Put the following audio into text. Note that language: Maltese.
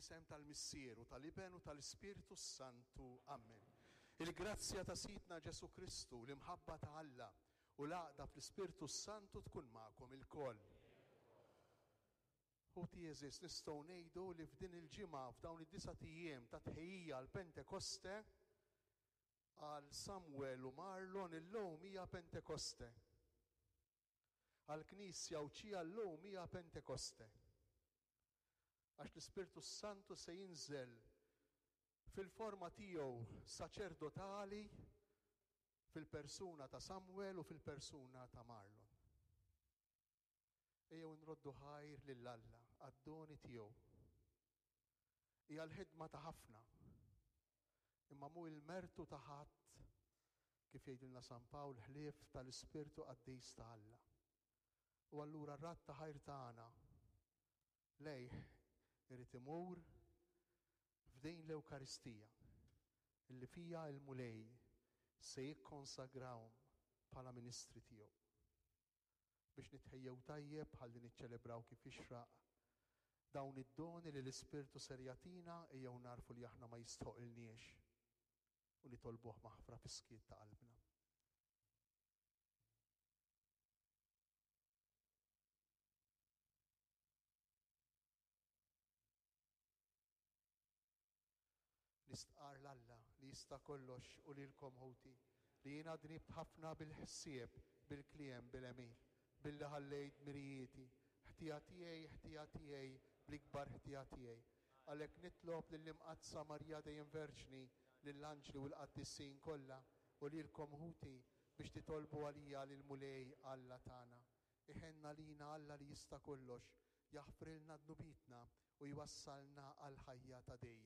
Fl-isem tal-Missier u tal-Iben u tal-Ispirtu s-Santu. Amen. Il-grazzja ta' Sidna Ġesù Kristu, l-imħabba ta' Alla u l-għaqda fl-Ispirtu s-Santu tkun magħkom ilkoll. Ħuti għeżież, nistgħu ngħidu li f'din il-ġimgħa, f'dawn id-disat ijiem ta' tħejjija għal Pentekoste, għal Samuel u Marlon illum hija Pentekoste. Għall-Knisja Għawdxija llum hija Pentekoste. Għax l-Ispirtu s-Santu se jinżel fil-forma tiegħu saċerdotali fil-persuna ta' Samuel u fil-persuna ta' Marlon. Ejjew nroddu ħajr lil Alla għad-doni tiegħu. Hija l-ħidma ta' ħafna, imma mhu il-mertu ta' ħadd kif jgħidilna San Pawl ħlief tal-Ispirtu Qaddis ta' Alla. U allura r-radd ta' ħajr tagħna lejh irid imur f'din l-Ewkaristija illi fija l-Mulej se jikkonsagrahom bħala ministri tiegħu. Biex nitħejjew tajjeb ħalli niċċelebraw kif jixraq dawn id-doni li l-Ispirtu ser jagħtina ejjew nagħrfu li aħna ma jistħoqilniex u nitolbuh maħfra fis-skiet ta' qalbna. Nistqarr 'l Alla li jista' kollox u lilkom ħuti, li jiena dnibt ħafna bil-ħsieb, bil-kliem, bil-għemil, billi ħallejt dmirijieti, ħtija tiegħi, ħtija tiegħi, bl-ikbar ħtija tiegħi. Għalhekk nitlob lill-Imqaddsa Marija dejjem Verġni, lill-anġli u l-qaddisin kollha, u lilkom ħuti, biex titolbu għalija lill-Mulej Alla tagħna. Iħenn għalina Alla li jista' kollox, jaħfrilna dnubietna u jwassalna għall-ħajja ta' dejjem.